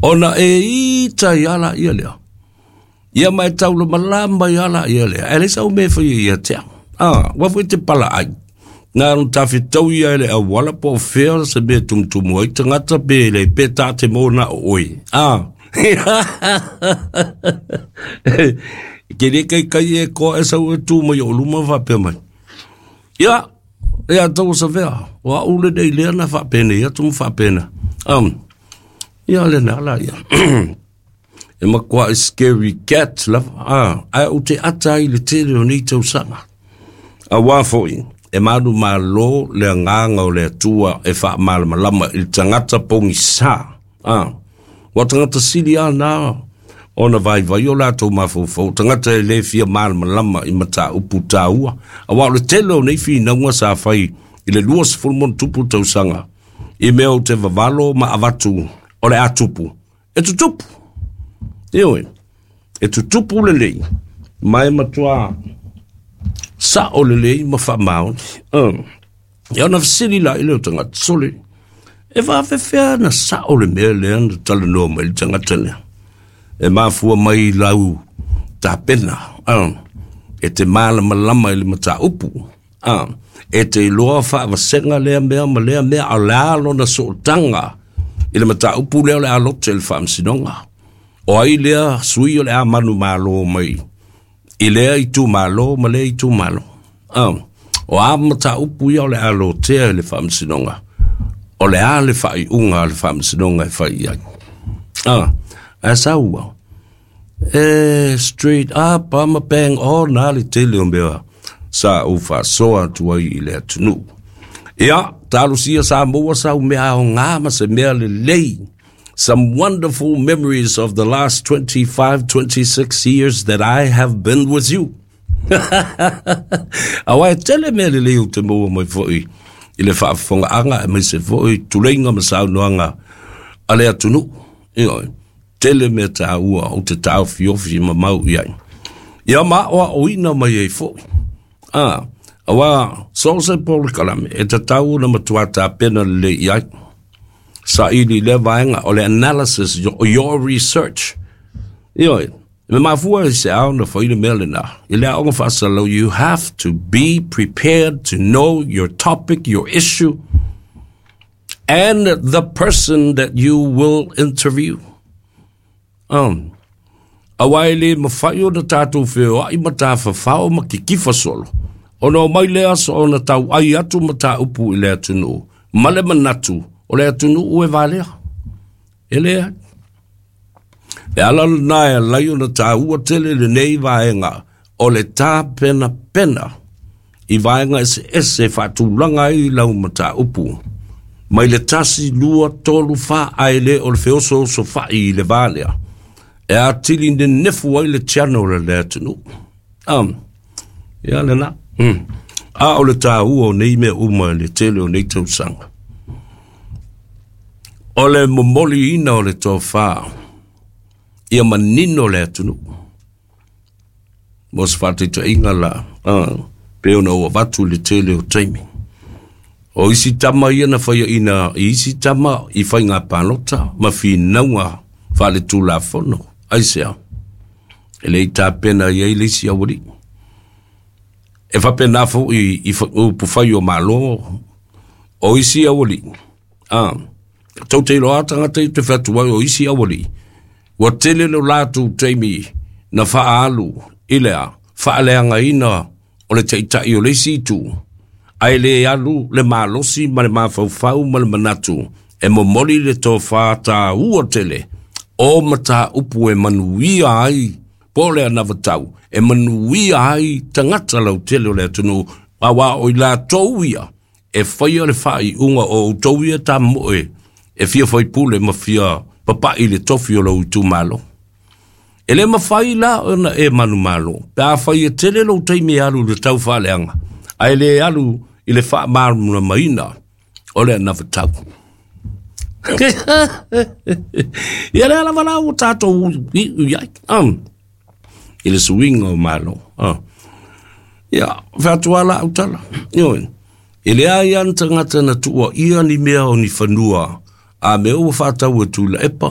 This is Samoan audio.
Ona e ita ai lava laia lea. Ia ma e taulamalama ai lava laia lea. Ae leai sau mea e faia ia te au. Aua foi e te palaai. Na ona tafetau ia i le auala po o fea se mea e tumutumu ai tagata pe le pe ta te mo na o oe. Ke le kai kai e koa e sau e tu mai o luma faapea mai. Ia, ia tau savea. O au lenei lea na faapenei atu ma faapena. Ia lena la ia. E matua scary cat lava. Ae ou te ata ai i le tele o nei tausaga. Auā foi, e manumalo le agaga o le Atua e faamalamalama i le tagata pogisa. Ua tagata sili lava na ona vaivai o latou mafaufau, o tagata e le fia malamalama i mataupu taua. Aua o le tele o nei finauga sa fai i le 20 ma tupu tausaga, i mea ou te vavalo ma avatu o le a tupu, e tutupu. Ioe, e tutupu lelei, ma e matua sa'o lelei ma faamaoni. Ia ona fesili la i le o tagata, sole, e faafefea na sa'o le mea lea na talanoa mai le tagata lea? E mafua mai lau tapena, e te malamalama i le mataupu. E te iloa faavasega lea mea ma lea mea, a o le a lona sootaga i le mataupu lea o le a lote i le faamasinoga. O ai lea sui o le a manumalo mai i lea itumalo ma lea itumalo. O a mataupu ia o le a lotea i le faamasinoga, o le a le faaiuga a le faamasinoga e fai i ai. Ae saua, e straight up a ma bang on a le tele o mea sa ou faasoa atu ai i le atunuu. Ia, talosia Samoa sau mea aoga ma se mea lelei. Some wonderful memories of the last 25, 26 years that I have been with you. Aua e tele mea lelei ou te maua mai foi i le faafofogaaga aemaise foi tuleiga ma saunoaga a le atunuu. Ioe, tele mea taua ou te taofiofi ma mau i ai. Ia ma aoaoina mai ai foi. Aua so se polokalame e tatau ona matua tapena lelei i ai. Saili lea vaega o le analysis, your research. Ioe, me mafua i se ao na fai le mea lena. I le aoga faasalau, you have to be prepared to know your topic, your issue, and the person that you will interview. Aua e le mafai ona tatou feoai ma tafafao ma kikifa solo. Ona o mai le aso ona tau ai atu mataupu i le atunuu. Ma le manatu o le atunuu e valea. E lea. E ala lena e alai ona taua tele lenei vaega o le tapenapena i vaega eseese e faatulaga ai lau mataupu. Mai le 1, 2, 3, 4, ae le o le feosoosofai i le va lea. E atili nenefu ai le channel a le atunuu. Ia lena. A o le taua o nei mea uma i le tele o nei tausaga. O le momoliina o le tofa ia manino le atunuu. Mo se faataitaiga la, pe ona ua avatu i le tele o taimi. O isi tama ia na faiaina i isi tama i faiga palota ma finauga faaletulafono. Aisea? E le i tapena i ai le isi aualii. E faapena foi i upufai o Malo o isi aualii. Tou te iloa tagata i te fai atu ai o isi aualii. Ua tele lo latou taimi na faaalu i le a faaleagaina o le taitai o le isi itu. Ae le alu le malosi ma le mafaufau ma le manatu e momoli le tofa taua tele o mataupu e manuia ai po o le anavatau e manuia ai tagata lautele o le atunuu aua o i latou ia e faia le faaiuga o outou ia tamoe e fia faipule ma fia papai le tofi o lou itumalo. E le mafai la ona e manumalo, pe a fai e tele lou taimi e alu i le tau faaleaga, ae le alu i le faamalamalamaina o le anavatau. Ia lea lava la ua tatou iu i ai. I le suiga o malo. Ia, fai atu lava la au tala. Ioe. E leai lava ni tagata na tuuaia ni mea o ni fanua a mea ua faatau e Tuilaepa.